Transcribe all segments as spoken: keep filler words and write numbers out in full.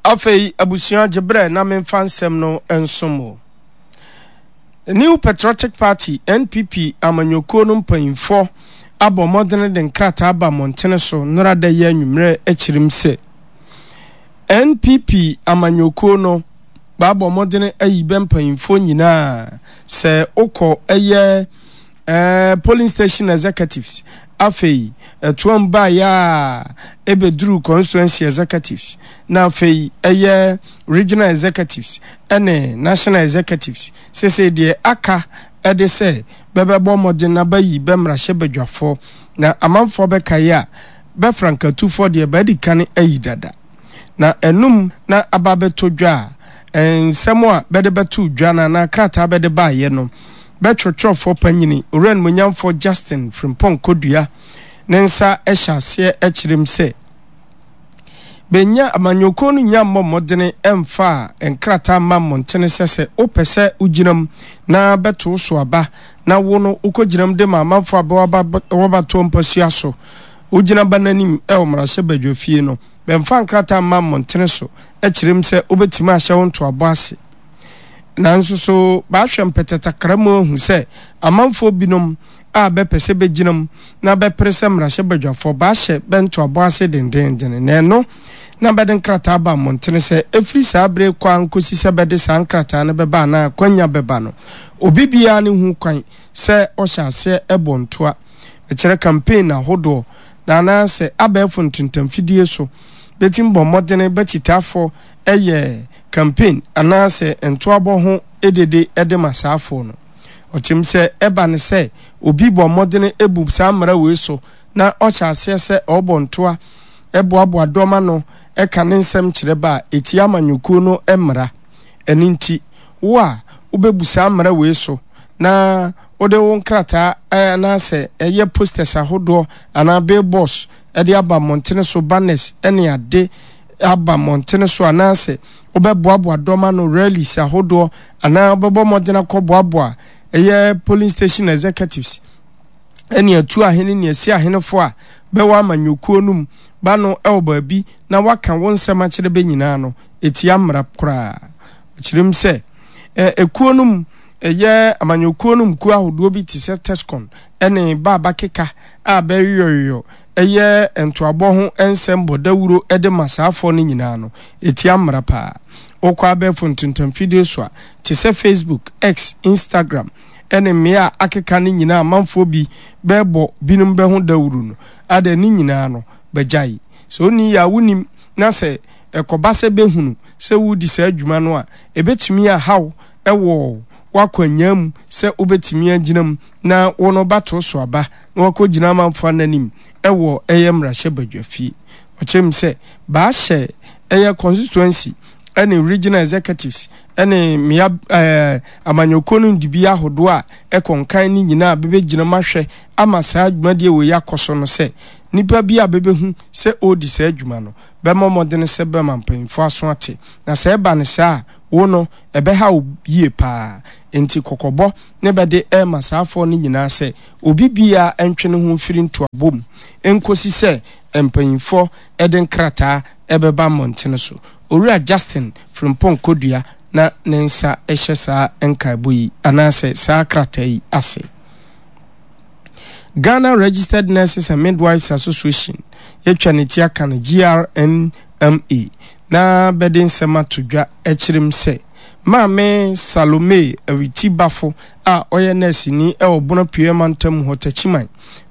Afei abusua gye berɛ na memfa nsɛm no nsom wo. New Patriotic Party, N P P, amanyɔkuo no mpanyinfoɔ abɔ mmɔdene de nkrataa aba mmɔntene so nnora da yi anwummerɛ akyirim sɛ N P P amanyɔkuo no baabɔ mmɔdene ayi bɛ mpanyinfoɔ nyinaa sɛ wokɔ ɛyɛ ɛɛ polling station executives, afei ɛtoam baeɛ a ɛbɛduru constituency executives, na afei ɛyɛ regional executives ɛne national executives. Sese deɛ aka ɛde sɛ bɛbɛbɔ mmɔden na bayi bɛmmarahyɛ badwafoɔ na amanfoɔ bɛkaeɛ a bɛfra nkatufoɔ deɛ baadi kan ayi dada na ɛnum na aba bɛtɔ dwa a nsɛm a bɛde bɛto dwa no anaa krataa bɛde baayɛ no, bɛtwerɛtwerɛfoɔ panyini Owura Nimonyamfoɔ Justin Frimpong Kodua ne nsa hyɛ aseɛ kyerɛm sɛ bɛnya amanyɔkuo no nya mmɔ mmɔdene mfa a nkrataa mma mmɔntene sɛ sɛ wopɛ sɛ wogyinam na bɛto so aba na wo no wokɔgyinam de ma amanfoɔ a bɛwɔbatoɔ mpasua so wogyina ba n'anim ɛwɔ mmarahyɛ badwa fie no, bɛmfa nkrataa mma mmɔntene so kyerɛm sɛ wobɛtumi ahyɛ wo ntoabɔ ase. Nanso so baahwɛ mpɛtɛtakra mu ahu sɛ amanfoɔ binom a bɛpɛ sɛ bɛgyina mu na bɛpere sɛ mmarahyɛ badwafoɔ baahyɛ bɛntoabɔ ase dendenden na ɛno na bɛde nkrataa ba mmɔntene sɛ ɛfiri saa bere kɔ a nkɔsi sɛ bɛde saa nkrataa no bɛba anaa kwanya bɛba no, obi biara ne hu kwan sɛ ɔhyɛ aseɛ ɛbɔ ntoa ɛkyerɛ campaign ahodoɔ na anaasɛ abɛɛfo ntentamfidie so bɛtumi bɔ mmɔdene bɛkyitaafoɔ ɛyɛ campaign anaasɛ ntoabɔ ho edede ɛde ma saafoɔ no. Ɔkyɛm sɛ ɛba ne sɛ obi bɔ mmɔdene ebu saa mmara wei so na ɔhyɛ aseɛ sɛ ɔrebɔ ntoa ɛboaboa dɔm ano ɛka ne nsɛm kyerɛ ba a etia amanyɔkuo no mmara. Ɛno nti wo a wobɛbu saa mmara wei so na wode wo nkrataa anaasɛ ɛyɛ posters ahodoɔ anaa billboards ɛde aba mmɔntene so, banners ɛne ade aba mmɔntene so, anaasɛ wobɛboaboa dɔm ano rallies ahodoɔ, anaa wobɛbɔ mmɔden akɔboaboa ɛyɛ polling station executives ɛne atu ahene ne asi ahenefo a bɛwɔ amanyɔkuo no mu ba no ɛwɔ baabi na waka wo nsɛm akyerɛ bɛ nyinaa no, ɛtia mmara koraa. Ɔkyerɛ mu sɛ ekuo no mu ɛyɛ amanyɔkuo no mu kuo ahodoɔ bi te sɛ TESCON ɛne baaba keka a bɛyɔyɔ ɛyɛ ntoabɔ ho nsɛm bɔ dawuro ɛde ma saafoɔ no nyinaa no, ɛtia mmara paa. Wokɔ abɛɛfo ntentamfidie so a te sɛ Facebook, X, Instagram ɛne mmea a akeka no nyinaa, amanfoɔ bi bɛɛbɔ binom bɛho dawuro no ada ne nyinaa no bɛgyae. Sɛ onni yɛ a wonim na sɛ ɛkɔba sɛ bɛhunu sɛ wodi saa adwuma no a, ɛbɛtumi ahaw ɛwɔ w'akwanyaa mu sɛ wobɛtumi agyina mu na wo no bato so aba na wakɔgyina amanfoɔ ananim ɛwɔ ɛyɛ mmarahyɛ badwa fie. Ɔkyerɛ mu sɛ baahyɛ ɛyɛ constituency ɛne regional executives ɛne mmea ɛɛ amanyɔkuo no dibi ahodoɔ a ɛkɔ nkan ne nyinaa bɛbɛgyina mu ahwɛ ama saa dwumadie wɔ yi akɔ so no, sɛ nipa bi a bɛbɛhu sɛ ɔredi saa adwuma no, bɛma mmɔden sɛ bɛma mpanyinfoɔ aso ate, na sɛ ɛba ne saa a, wo no ɛbɛha wo yie paa. Nti kɔkɔbɔ ne bɛde ɛrema saafoɔ no nyinaa sɛ obi biara ntwe ne ho mfiri ntoabɔ mu nkosi sɛ mpanyinfoɔ ɛde nkrataa ɛbɛba mmɔntene so. Owura Justin Frimpong Kodua na ne nsa hyɛ saa nkaebɔ yi anaasɛ saa krataa yi ase. Ghana Registered Nurses and Midwives Association, yɛtwa ne ti aka no G R N M A, na bɛde nsɛm ato dwa kyerɛm sɛ Maame Salome Awiti Bafo a ɔyɛ nɛɛseni wɔ Bono Pue mantam hɔ Takyiman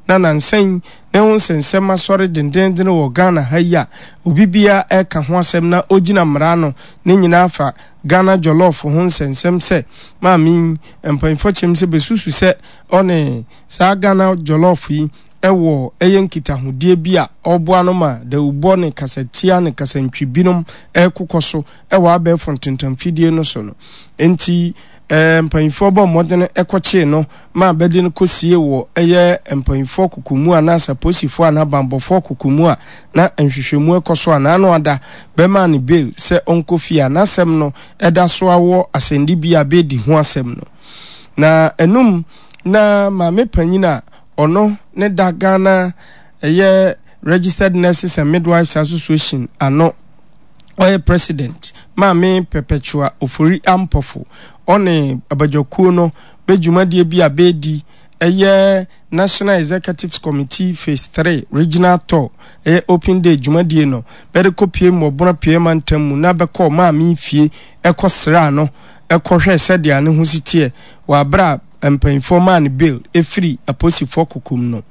na nansan ne ho nsɛnsɛm asɔre dendenden wɔ Ghana ha yi a obi biara ɛka ho asɛm na ogyina mmara no ne nyinaa fa Ghana jollof ho nsɛnsɛm sɛ maame yi mpanyinfoɔ kyerɛm sɛ bɛsusu sɛ ɔne saa Ghana jollof yi ɛwɔ ɛyɛ nkitahodie bi a ɔboa no ma dawubɔ ne kasatia ne kasantwi binom ɛkokɔ so ɛwɔ abɛɛfo ntentamfidie no so no. Nti ɛɛ mpanyinfoɔ bɔ mmɔden ɛkɔkyee no ma bɛde no kɔsie wɔ ɛyɛ mpanyinfoɔ kokomu anaasɛ apolisifoɔ anaa banbɔfoɔ kokomu a na nhwehwɛmu ɛkɔ so a n'ano ada bɛma ne bail sɛ ɔnkɔ fie a n'asɛm no ɛda so awɔ asɛnnibea a bɛdi ho asɛm no. Na ɛnum na maame panyin a ɔno ne da Ghana ɛyɛ Registered Nurses and Midwives Association ano, Ɔyɛ President, Maame Perpetua Ofori Ampofo, ɔne abadwakuo no bɛ dwumadie bi a bɛredi ɛyɛ National Executives Committee Phase Three Regional Tour, ɛyɛ Open Day dwumadie no, bɛde kɔpue Mmɔbono Apueɛ Mantam mu na bɛkɔɔ Maame fie ɛkɔ sraa no ɛkɔhwɛɛ sɛdeɛ ne ho si teɛ wɔ aberɛ a mpanyinfoɔ maa no bail ɛfiri apolisifoɔ kokom no.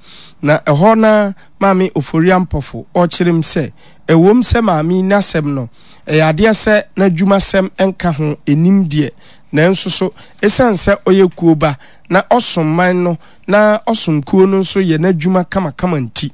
Na ɛhɔ na Maame Ofori Ampofo ɔkyerem sɛ ɛwom sɛ maame yi n'asɛm no ɛyɛ adeɛ sɛ n'adwumasɛm nka ho ɛnim deɛ, nanso so ɛsiane sɛ ɔyɛ kuo ba na ɔsom man no na ɔsom kuo no nso yɛ n'adwuma kamakama nti,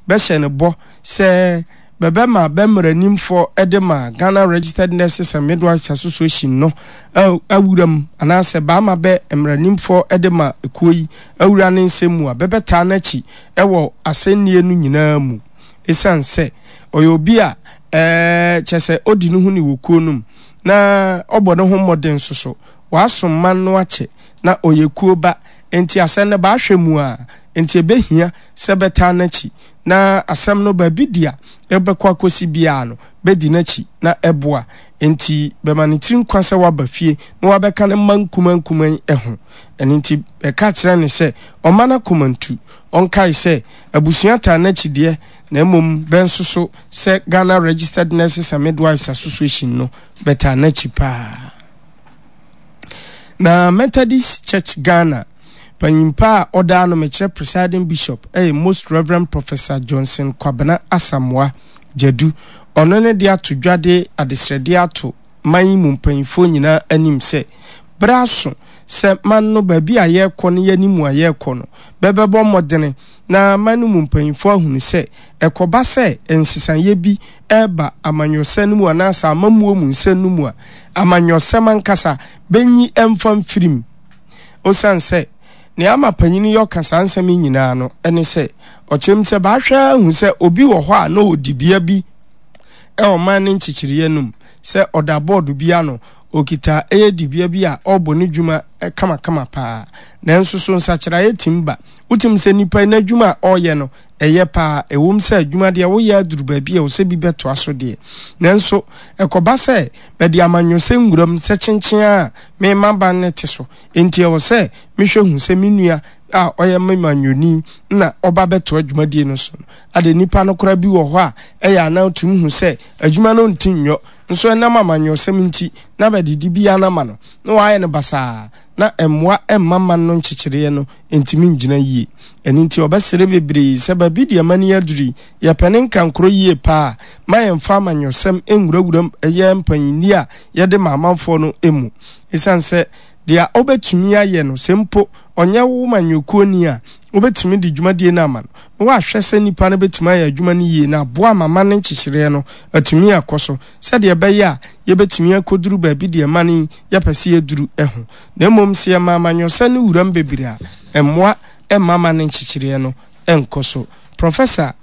bɛhyɛ no bɔ sɛ bɛbɛma bɛ mmaranimfoɔ de ma Ghana Registered Nurses and Midwives Association no awura mu, anaasɛ baama bɛ mmaranimfoɔ de ma kuo yi awura ne nsɛm mu a bɛbɛtaa n'akyi wɔ asɛnnie no nyinaa mu, ɛsiane sɛ ɔyɛ obi a ɛɛ kyɛ sɛ ɔdi ne ho ni wɔ kuo no mu na ɔbɔ ne ho mmɔden nso so wasom man no akyɛ na ɔyɛ kuo ba, nti asɛm no baahwɛ mu a nti ɛbɛhia sɛ bɛtaa n'akyi na asɛm no baabi di a ɛbɛkɔ akɔsi biara no bɛdi n'akyi na ɛboa. Nti bɛma ne tiri nkwa sɛ waba fie na wabɛka ne mma nkuma nkuma yi ho. Ɛno nti bɛka kyerɛ ne sɛ ɔma no akoma ntu, ɔnkae sɛ abusua taa n'akyi deɛ, na mmom bɛnso so sɛ Ghana Registered Nurses and Midwives Association no bɛtaa n'akyi paa. Na Methodist Church Ghana panyimpa a ɔdaa no, mekyerɛ presiding bishop, ɛyɛ Most Reverend Professor Johnson Kwabena Asamoah Gyadu, ɔno ne de ato dwa de adesrɛdeɛ ato man yi mu mpanyinfoɔ nyinaa anim sɛ berɛ aso sɛ man no baabi a yɛrekɔ ne yɛn mu a yɛrekɔ no bɛbɛbɔ mmɔdene na man no mu mpanyinfoɔ ahunu sɛ ɛkɔba sɛ nsesaeɛ bi ɛreba amanyɔsɛm no mu anaasɛ amammuo mu nsɛm no mu a, amanyɔsɛm ankasa bɛnyi ɛmfa mfirim. Osiane sɛ nea ama panyin yi ɔka saa nsɛm yi nyinaa no ne sɛ ɔkyerɛm sɛ baahwɛ ahu sɛ obi wɔ hɔ a na ɔwɔ dibea bi ɛwɔ man ne nkyekyereɛ no mu, sɛ ɔda bɔɔdo bi ano, okita ɛyɛ dibea bi a ɔrebɔ ne dwuma kamakama paa, nanso so nsakyeraeɛ tim ba. Wotim sɛ nipa yi n'adwuma a ɔreyɛ no ɛyɛ paa, ɛwom sɛ adwuma deɛ woyɛ aduru baabi a ɛwɔ sɛ bi bɛtoa so deɛ, nanso ɛkɔba sɛ bɛde amanyɔsɛm nwuram sɛ kyenkyen a mema ban ne te so, enti ɛwɔ sɛ mehwɛ hu sɛ me nua a ɔyɛ me manyɔni na ɔba bɛtoa dwumadie no so no. Ade nipa no koraa bi wɔ hɔ a ɛyɛ anaa tumi hu sɛ adwuma no nti nyɔ, nso ɛnam amanyɔsɛm nti na bɛdede bi anama no na wɔayɛ no basaa, na mmoa mma man no nkyekyereɛ no ntumi ngyina yie. Ɛno nti ɔbɛsrɛ bebree sɛ baabi deɛ ma ni aduru yi, yɛpɛ ne nkankoro yie paa, ma yɛmfa amanyɔsɛm nwurawura ɛyɛ mpanyinni a yɛde ma amanfoɔ no mu. Ɛsiane sɛ deɛ ɔbɛtumi ayɛ no, sɛ mpo ɔnyɛ wo manyɔkuo ni a, wobɛtumi de dwumadie no ama no na wahwɛ sɛ nipa no bɛtumi ayɛ adwuma no yie na aboa ama ma ne nkyekyereɛ no atumi akɔ so, sɛdeɛ ɛbɛyɛ a yɛbɛtumi akɔduru baabi deɛ ma no yɛpɛ sɛ yɛduru ho. Na mmom sɛ yɛma amanyɔsɛm no wuram bebree a, mmoa mma ma ne nkyekyereɛ no nkɔ so. Professor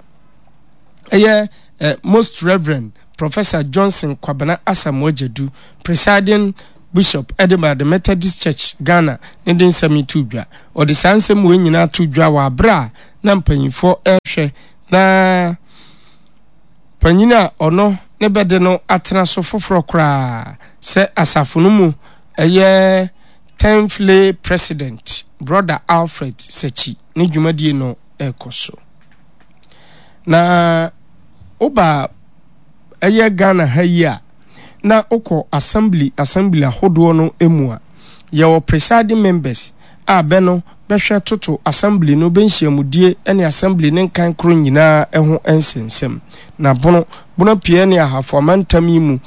ɛyɛ eh, Most Reverend Professor Johnson Kwabena Asamoah Gyadu, presiding bishop ɛde ma the Methodist Church Ghana, ne de nsɛm yi to dwa. Ɔde saa nsɛm wei nyinaa to dwa wɔ abere a na mpanyinfoɔ ɛrehwɛ na panyin a ɔno ne bɛde no atena so foforɔ koraa sɛ asafo no mu ɛyɛ tenth lay president, Brother Alfred Sekyi, ne dwumadie no ɛrekɔ so. Na woba ɛyɛ Ghana ha yi a, na wokɔ assembly assembly ahodoɔ no mu a, yɛwɔ presiding members a bɛ no bɛhwɛ toto assembly no bɛnhyiamudie ne assembly ne nkan koro nyinaa ho nsɛnsɛm. Na Bono Bono Pie ne Ahafo amantam yi mu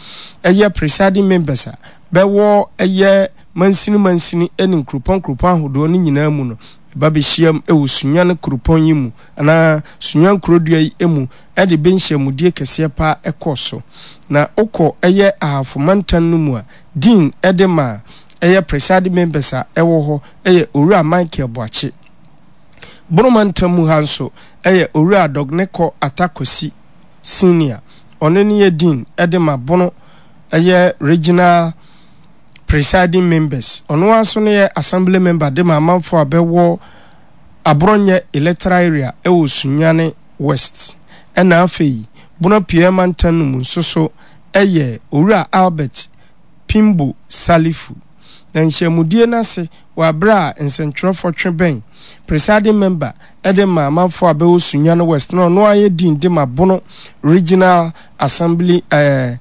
ɛyɛ presiding members a bɛwɔ ɛyɛ mansini mansini ne nkuropɔn nkuropɔn ahodoɔ no nyinaa mu no ba bɛhyiam wɔ Sunyani kuropɔn yi mu anaa Sunyani kurodua yi mu de bɛ nhyiamudie kɛseɛ paa ɛkɔɔ so. Na wokɔ ɛyɛ Ahafo mantam no mu a, dean de ma ɛyɛ presiding members a ɛwɔ hɔ ɛyɛ Owura Michael Boakye. Bono mantam mu ha nso ɛyɛ Owura Dɔgnekɔ Atta Kwasi Senior, ɔno ne yɛ dean de ma Bono ɛyɛ regional presiding members. Ɔno ara nso ne yɛ assembly member de ma amanfoɔ a bɛwɔ Aborɔnyɛ electoral area ɛwɔ Sunyani West. Ɛna afei Bono Apueɛ mantam no mu nso so yɛ Owura Albert Pimbo Salifu. Na nhyiamudie no ase wɔ aberɛ a nsɛntwerɛfoɔ twe bɛn Presiding Member de ma amanfoɔ a bɛwɔ Sunyani West na ɔno ara yɛ Dean de ma Bono Regional Assembly eh,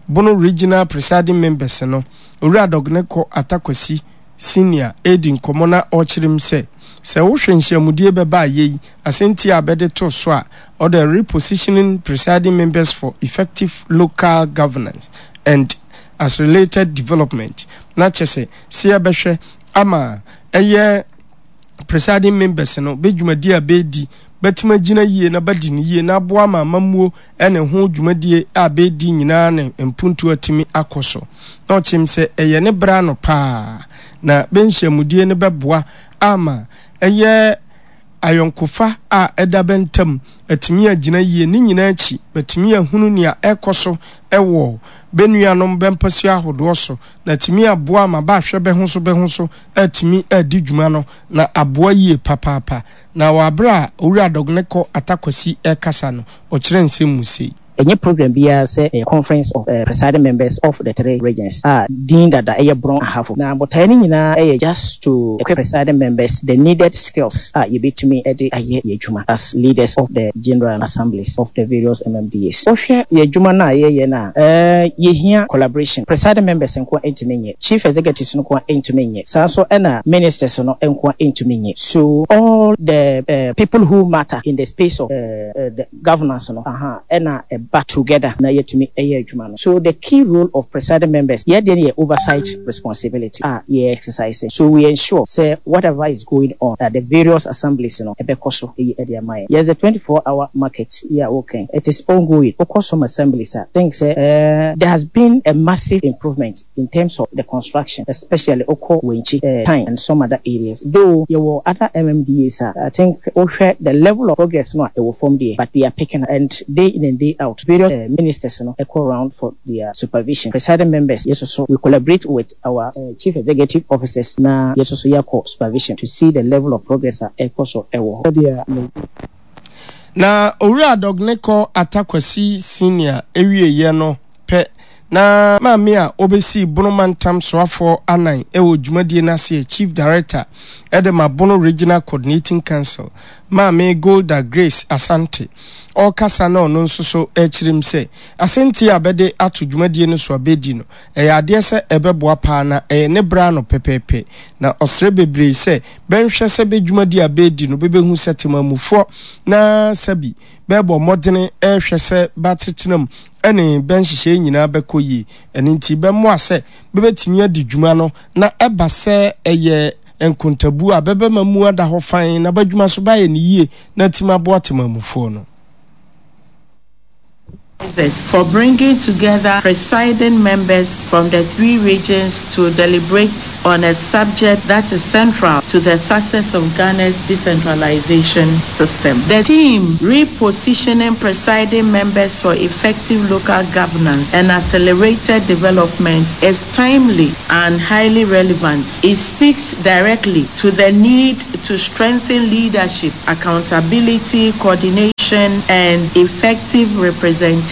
Bono Regional Presiding Members no, Owura Dɔgnekɔ Atta Kwasi Senior redi nkɔmmɔ na ɔrekyerɛ mu sɛ, sɛ wohwɛ nhyiamudie bɛba a yei asɛnti a bɛde too so a ɔde Repositioning Presiding Members for Effective Local Governance and Accelerated Development na kyɛ sɛ sɛ yɛbɛhwɛ ama ɛyɛ presiding members no bɛ dwumadie a bɛredi bɛtumi agyina yie na bɛadi no yie na aboa ama amammuo ne ho dwumadie a bɛredi nyinaa ne mpuntuo atumi akɔ so. Na ɔkyem sɛ ɛyɛ ne berɛ ano paa na bɛ nhyiamudie no bɛboa ama ɛyɛ ayɔnkofa a ɛda bɛ ntam atumi agyina yie. Ne nyinaa akyi bɛatumi ahunu nea ɛrekɔ so wɔ bɛ nuanom bɛ mpasua ahodoɔ so na atumi aboa ama bɛahwɛ bɛ ho so bɛ ho so atumi adi dwuma no na aboa yie papaapa. Na wɔ aberɛ a Owura Dɔgnekɔ Atta Kwasi rekasa no, ɔkyerɛɛ nsɛm mu sei. Ɛnyɛ program biara sɛ ɛyɛ Conference of Presiding Members of the Three Regions a din dada ɛyɛ Brong Ahafo. Na botaeɛ no nyinaa yɛ just to equip presiding members the needed skills a yɛbɛtumi de ayɛ yɛn adwuma as leaders of the General Assemblies of the various MMDAs. Wohwɛ yɛn adwuma no a yɛyɛ no a, yɛhia collaboration. Presiding members nko ara ntumi nyɛ, Chief Executives no nko ara ntumi nyɛ, saa nso na Ministers no nko ara ntumi nyɛ. So all the people who matter in the space of the governance no aha ɛna ɛba together na yɛtumi yɛ adwuma no. So the key role of presiding members, yɛn deɛ no yɛ oversight responsibility a yɛ exercise. So we ensure sɛ whatever is going on at the various assemblies no ɛbɛkɔ so yie de ama yɛn. Yes, the twenty four hour market yi a woka yi, it is ongoing. Wokɔ some assemblies a, think sɛ there has been a massive improvement in terms of the construction especially wokɔ Wenchi, Tain and some other areas though yɛwɔ other MMDAs a I think wohwɛ the level of progress no a ɛwɔ fam deɛ but they are picking up and day in and day out various ministers no kɔ round for their supervision presiding members yɛ soso we collaborate with our chief executive officers na yɛ soso yɛakɔ supervision to see the level of progress a ɛrekɔ so wɔ hɔ. Na Owura Dɔgnekɔ Atta Kwasi Senior wieeɛ no pɛ na maame a ɔbɛsii Bono Mantam Soafoɔ anan wɔ dwumadie no aseɛ, Chief Director de ma Bono Regional Coordinating Council, Maame Golda Grace Asante, ɔrekasa na ɔno nso so rekyerɛ mu sɛ asɛntie a bɛde ato dwumadie no so a bɛredi no, ɛyɛ adeɛ sɛ ɛbɛboa paa na ɛyɛ ne berɛ ano pɛpɛɛpɛ na ɔsrɛ bebree sɛ bɛnhwɛ sɛ bɛ dwumadie a bɛredi no bɛbɛhu sɛ temamufoɔ na sɛbi bɛrebɔ mmɔdene rehwɛ sɛ bɛatetena mu ne bɛ nhyehyɛe nyinaa bɛkɔ yie. Ɛno nti bɛmmoa sɛ bɛbɛtumi adi dwuma no na ɛba sɛ ɛyɛ nkontabuo a, bɛbɛma mu ada hɔ fann na b'adwuma nso bɛayɛ no yie na atumi aboa temanmufoɔ no. For bringing together presiding members from the three regions to deliberate on a subject that is central to the success of Ghana's decentralization system. The theme, Repositioning Presiding Members for Effective Local Governance and Accelerated Development, is timely and highly relevant. It speaks directly to the need to strengthen leadership, accountability, coordination, and effective representation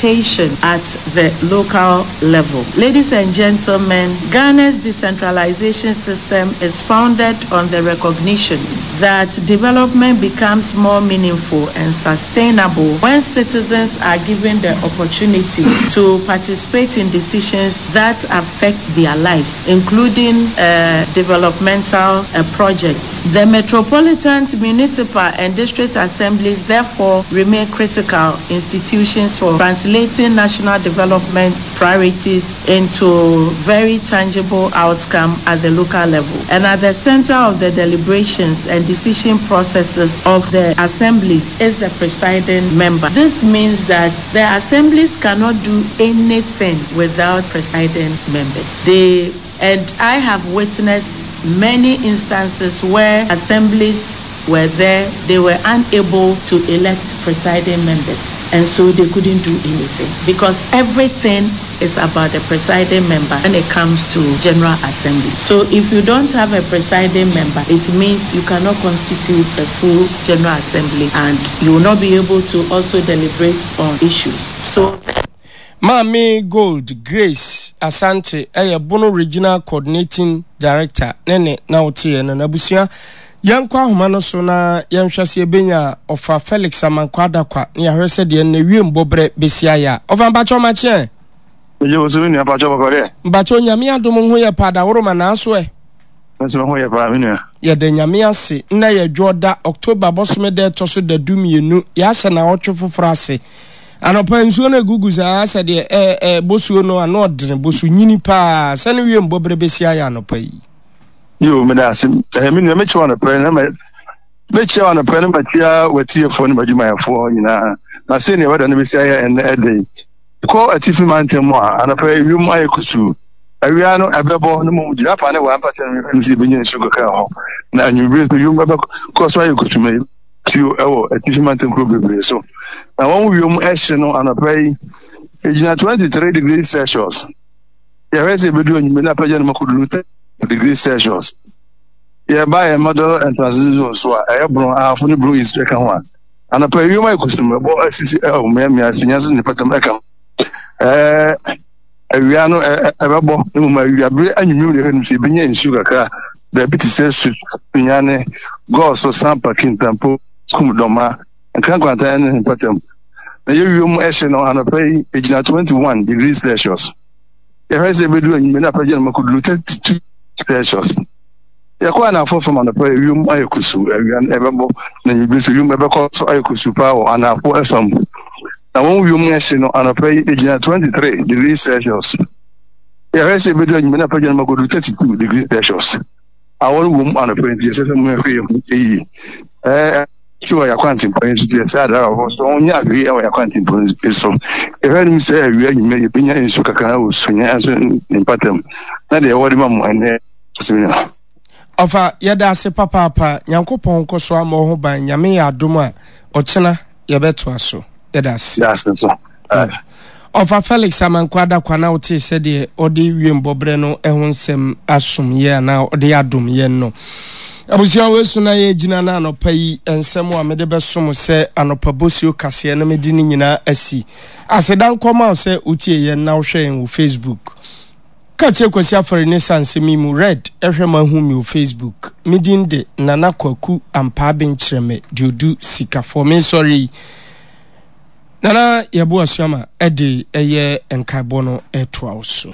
at the local level. Ladies and gentlemen, Ghana's decentralization system is founded on the recognition that development becomes more meaningful and sustainable when citizens are given the opportunity to participate in decisions that affect their lives, including uh, developmental uh, projects. The metropolitan, municipal, and district assemblies therefore remain critical institutions for translating national development priorities into very tangible outcome at the local level. And at the center of the deliberations and decision processes of the assemblies is the presiding member. This means that the assemblies cannot do anything without presiding members. They and I have witnessed many instances where assemblies were there, they were unable to elect presiding members, and so they couldn't do anything because everything is about the presiding member when it comes to General Assembly. So if you don't have a presiding member, it means you cannot constitute a full General Assembly and you will not be able to also deliberate on issues. So Maame Gold Grace Asante ɛyɛ Bono Regional Coordinating Director ne ne na woteɛ no. N'abusua, yɛnkɔ ahoma no so na yɛnhwɛ sɛ yɛbɛnya Ɔfa Felix Amankwa Adakwa na yɛahwɛ sɛ deɛ nnɛ wiem bɔberɛ bɛsi ayɛ a. Ɔfa, mpakyɛ ɔmakyeɛ. Megye wo so, me nua. Mpakyɛ bɔkɔ deɛ? Mpakyɛ, Onyame adom ho yɛ pa, adaworoma naaso ɛ. Nso ho yɛ paa, me nua. Yɛda Nyame ase. Nnɛ yɛ Dwoɔda, October bɔsome da ɛtɔ so da du mmienu. Yɛahyɛ naawɔtwe foforɔ ase. Anɔpa nsuo no egugu saa sɛ deɛ ɛɛ ɛɛ bosuo no ano ɔdene, bosu nyini paa. Sɛ ne wiem bɔberɛ bɛsi ayɛ anɔpa yi? Yo, meda ase. Ɛɛ me nua, mekyia wo anɔpa yi na mɛ mekyia wo anɔpa yi na makyia w'atiefoɔ ne m'adwumayɛfoɔ nyinaa. Na sɛnea wɛda no bɛsi ayɛ ɛnnɛ ɛda yi. Kɔ atifi mantam mu a, anɔpa yi wiem ayɛ kusuu. Awia no ɛbɛbɔ no mmom gyinapa ne waa mpata no mfim sɛ yɛbɛnya nsuo kakra wɔ hɔ. Na anwummere nso wiem bɛkɔ so ayɛ kusuu ma nsuo wɔ atifi mantam kuro bebree so. Na wɔn wiem ɛhye no anɔpa yi ɛgyina twenty-three degrees Celsius. Yɛhwɛ sɛ ɛbɛdu anwummere no apagya no mu akɔduru thirty degrees Celsius. Yɛba yɛn middle and transition zone so a, ɛyɛ Borɔn Ahafo ne Borɔn East ɛka ho a, anɔpa yi wiem ayɛ kusum, ɛbɔ asisi ɛwɔ mmeammea ase, nya nso ne patam ɛka ho. Ɛɛ awia no ɛbɛbɔ, mmom awia bere anwummerɛ na ɛhwɛ no sɛ ebenya nsuo kakra baabi te sɛ Sunyani, Gɔɔso, Sampa, Kintampo, Kum, Dɔma, Nkran Nkwanta ne mpatam. Na yɛ wiem ɛhye no anɔpa yi egyina twenty-one degrees Celsius. Yɛhwɛ sɛ ebedu anwummerɛ na apagya no makɔduru thirty-two Celsius. Yɛkɔ anafo fam anɔpa yi, wiem ayɛ kusuu, awia no ɛbɛbɔ, na anwummere nso wiem ɛbɛkɔ so ayɛ kusuu paa wɔ anafo fam. Na wɔn wiem ɛhye no anɔpa yi egyina twenty-three degrees Celsius. Yɛhwɛ sɛ ebedu anwummere na apagya no makɔduru thirty-two degrees Celsius. Awɔ no wom anɔpa yi nti ɛsɛ sɛ mohwɛ yɛn ho yie. Ɛɛ ti wɔ yɛn akwantempɔn yi so nti ɛsɛ adrabafoɔ so wɔnyɛ ahwɛyie wɔ yɛn akwantempɔn yi so. Yɛhwɛ anim sɛ awia anwummere yɛbɛnya nsuo kakra wɔ Sunyani nso ne mpatam na deɛ ɛwɔ de ma mo ɛnnɛ asɛm. Ɔfa, yɛda ase papaapa. Nyankopɔn nkɔ so ama wo ho ban. Nyame yɛ adom a, ɔkyena yɛbɛtoa so. Yɛda ase. Yɛda ase nso. Ɔfa Felix Amankwa Adakwa na wotee sɛdeɛ ɔde wiem bɔberɛ no ho nsɛm asom yɛn anaa ɔde adom yɛn no. Abusua, wei so na yɛgyina no anɔpa yi nsɛm a mede bɛsom sɛ anɔpa bosuo kaseɛ no mede ne nyinaa asi. Aseda nkɔma wo sɛ wotie yɛn na wohwɛ yɛn wɔ Facebook. Ka kyerɛ Kwasi Afari ne sa nsɛm yi mu Red ɛhwɛ ma hu me wɔ Facebook. Me din de Nana Kwaku Ampaaben Kyerɛmɛ Duodu Sikafoɔ. Mensɔre yi. Nana Yɛbo Asuama ɛde ɛyɛ nkaebɔ no ɛtoa wo so.